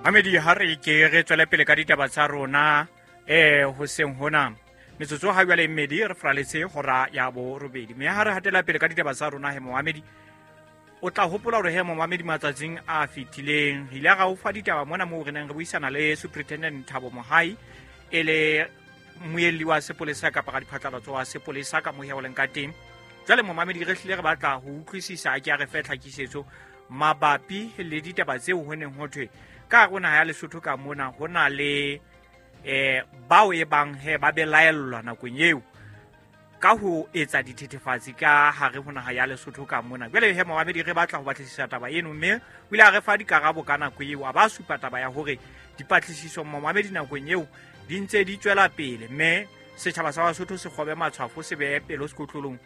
Mamedi, ha re ke re tswele pele ka ditaba tsa rona hoseng hona. Metsotso ha jwale e mmedi re fraletse hora ya 8. Mme ha re hatela pele ka ditaba tsa rona he momamedi, o tla hopola hore he momamedi matsatsing a fetileng re ile ra o fa ditaba mona moo re neng re buisana le Superintendent Thabo Mohai, e le mmuelli wa sepolesa kapa ka diphatlalatso wa sepolesa ka mohe o leng ka teng. Jwale momamedi re hlile re batla ho utlwisisa, a ke a re fe tlhakisetso mabapi le ditaba tseo ho neng ho thwe ka hare ho naha ya Lesotho ka mona ho na le bao e bang he ba belaellwa nakong eo ka ho etsa dithethefatsi ka hare ho naha ya Lesotho ka mona. Jwale he momamedi re batla ho batlisisa taba eno, mme o ile a re fa dikarabo ka nako eo, a ba supa taba ya hore dipatlisiso momamedi nakong eo di ntse di tswela pele, mme setjhaba sa Basotho se kgobe matshwafo, se behe pelo sekotlolong.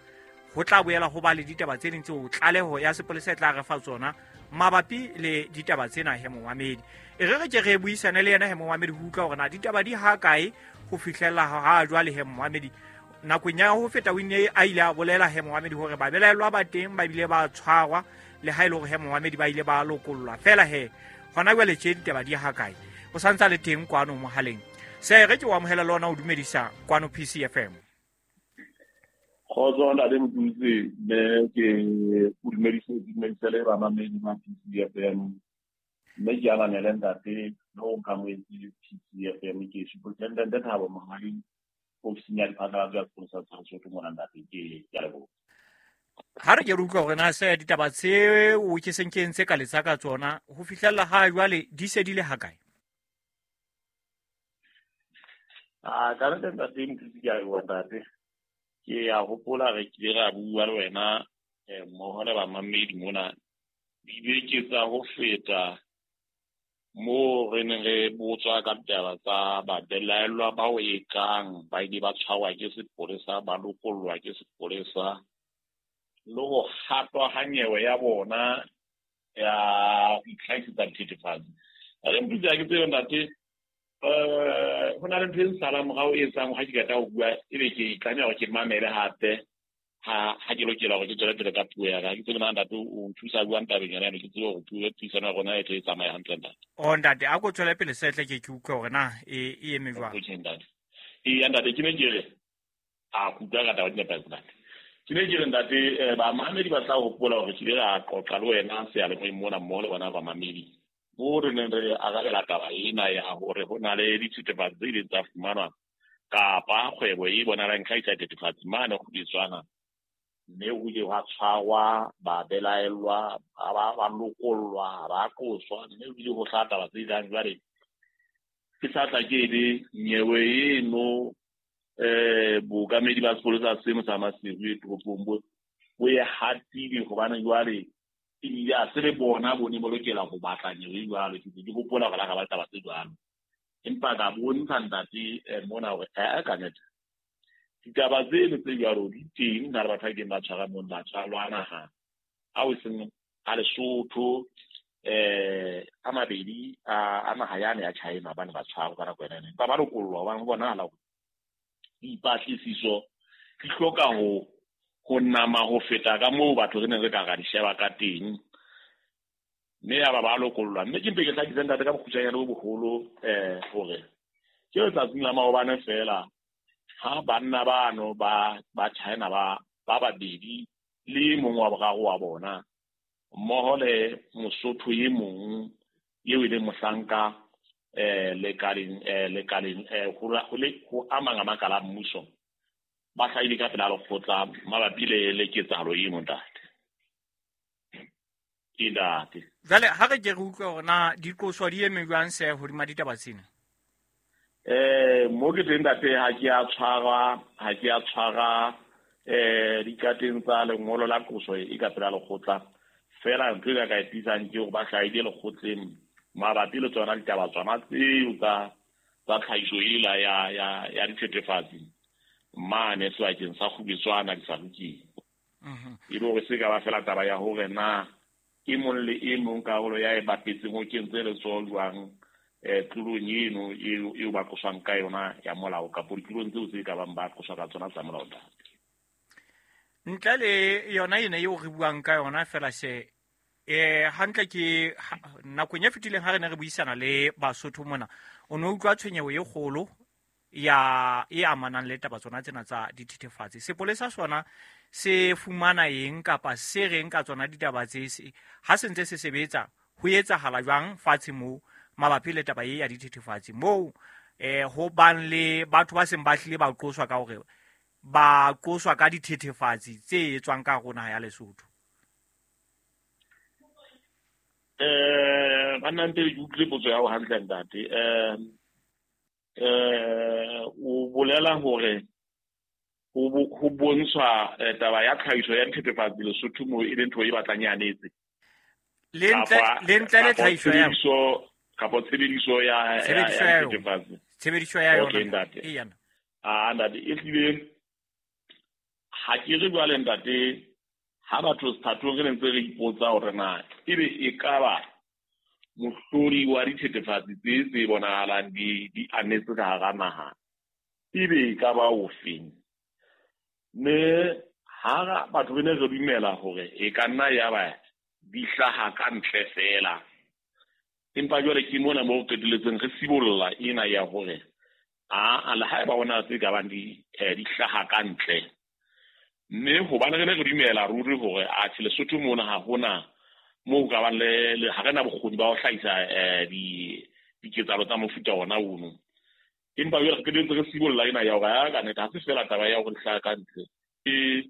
Ho tla boela ho ba le ditaba tse ding tseo tlaleho ya sepolesa e tla re fa tsona mabapi le ditaba tsena he momamedi. E re re ke re buisane le yena he momamedi ho utlwa hore na ditaba di ha kae ho fihlela ha jwale he momamedi. Nakong ya ho feta o ne a ile a bolela he momamedi hore babelaellwa ba teng ba bile ba tshwarwa, le ha e le hore he momamedi ba ile ba lokollwa fela he hona jwale tje ditaba di ha kae. O santsa le teng kwano mohaleng. Se re ke o amohela le ona o dumedisa kwano PCFM. Kgotso ntate Motutsi, mme ke o dumedise, dumedise le bamamedi ba PCFM. Mme ke ananele ntate le ho nkamohetse PCFM, ke Superintendent Thabo Mohai, ofising ya diphatlalatso ya sepolesa sa Lesotho mona ntate, ke a leboha. Ha re ke re utlwa hore na se ditaba tseo ke seng ke entse ka letsa ka tsona ho fihlella ha jwale di se di le ha kae? A ka ntate ntate Motutsi, ke a leboha ntate. Ke a hopola re kile ra bua le wena mmoho le bamamedi mona dibeke tsa ho feta moo re neng re botswa ka ditaba tsa babelaellwa bao e kang ba ile ba tshwarwa ke sepolesa, ba lokollwa ke sepolesa, le ho hatwa ha nyewe ya bona ya ho itlhahisetsa dithethefatsi. Re Motutsi, ha ke tsebe ntate, ho na le ntho e nsalang morao e etsang ha ke qeta ho bua ebe ke tlameha hore ke mamele hape ha ke lokela hore ke tswele pele ka puo ya ka. Ke tsebe na ntate o nthusa jwang tabeng yona eno, ke tsebe hore puo puisano ya rona e tle e tsamaye hantle ntate. O ntate, a ko tswele pele setle ke ke utlwe hore na e eme jwang. Okay ntate. Eya ntate, ke ne ke re a kutlwa ka taba di nepahetse ntate. Ke ne ke re ntate, bamamedi ba tla hopola hore ke ile ra qoqa le wena seyalemoyeng mona mmoho le bona bamamedi. Moo re neng re arabela taba ena ya hore ho na le dithethefatsi tse ileng tsa fumanwa kapa kgwebo e bonahalang e hlahisa dithethefatsi mane Kgubetswana, mme ho ile hwa tshwarwa babelaellwa, ba lokollwa, ba qoswa, mme ho ile ho hlaha taba tse jang jwale. Ke sa tla ke le nyewe eno bookamedi ba sepolesa seno sa Maseru e toropong bo e hatile hobane jwale ebile a se le bona bo ne bo lokela ho batla nyewe jwalo. Ke ke hopola hore la ra ba taba tse jwalo, empa ka bontsha ntate mona hore ka nnete ditaba tseno tse jwalo di teng na le batho ba ileng ba tshwara mona, ba tshwarwa naha ao e seng a Lesotho, a mabedi a naha yane ya China, ba ne ba tshwarwa ka nako ena. Empa ba lokollwa hobane ho bonahala hore dipatlisiso di hloka ho nama ho feta ka moo batho re neng re ka ra di sheba ka teng, mme ya ba ba lokollwa. Mme ke mpe ke hlakise ntate ka bokgutshwanyane bo boholo hore ke letsatsing la maobane fela ha banna bano ba China ba babedi le mong wa boraro wa bona mmoho le Mosotho e mong eo e leng mohlanka lekaleng ho amang a makala a mmuso ba hlahile ka pela lekgotla mabapi le ketsahalo eno ntate. Ke ntate. Jwale ha re ke re utlwe hore na diqoso di eme jwang se hodima ditaba tsena? Mo ke teng ntate, ha ke a tshwara dikateng tsa lengolo la qoso e ka pela lekgotla. Fela ntho e ka e tiisang ke hore ba hlahile lekgotleng mabapi le tsona ditaba tsona tseo tsa tlhahiso ela ya dithethefatsi mane sebakeng sa Kgubetswana Disalukeng. E le hore se ka ba fela taba ya hore na e mong le e mong karolo ya e bapetseng o kentse letsoho jwang tlolong eno eo ba qoswang ka yona ya molao kapo ditlolong tseo tse ka bang ba qoswa ka tsona tsa molao ntate. Ntle le yona ena eo re buang ka yona fela se Hantle ke nakong e fetileng ha re ne re buisana le Basotho mona, o ne utlwa tshwenyeho e kgolo ya e amanang le taba tsona tsena tsa dithethefatsi. Sepolesa sona se fumana eng kapa se reng ka tsona ditaba tse, ha se ntse se sebetsa ho etsahala jwang fatshe moo mabapi le taba e ya dithethefatsi, moo ho bang le batho ba seng ba hlile ba qoswa ka hore ba qoswa ka dithethefatsi tse etswang ka hare ho naha ya Lesotho? Banna nte ke utlwile potso ya hao hantle ntate. O bolela hore ho bontshwa taba ya tlhahiso ya dithethefatsi Lesotho moo e leng ntho e batlang e anetse. Le ntle le tlhahiso ya kapa tshebediso ya dithethefatsi. Tshebediso ya yona. Ntate. Ah ntate, e hlile ha ke re jwale ntate, ha batho sethathong re ntse re ipotsa hore na ebe e ka ba mohlodi wa dithethefatsi tse bonahalang di anetse ka hara naha, ebe e ka ba ofeng? Mme ha batho re ne re dumela hore e ka nna ya ba di hlaha ka ntle fela, empa jwale ke mona moo qetelletseng re sibolla ena ya hore a le haeba hona tse ka bang di hlaha ka ntle. Mme hobane re ne re dumela ruri hore atjhe Lesotho mona ha hona moo ka bang le ha re na bokgoni ba ho hlahisa diketsahalo tsa mofuta ona ono. Empa jwale re qetelletse re sibolla ena ya hore ka nnete ha se fela taba ya hore di hlaha ka ntle. Ke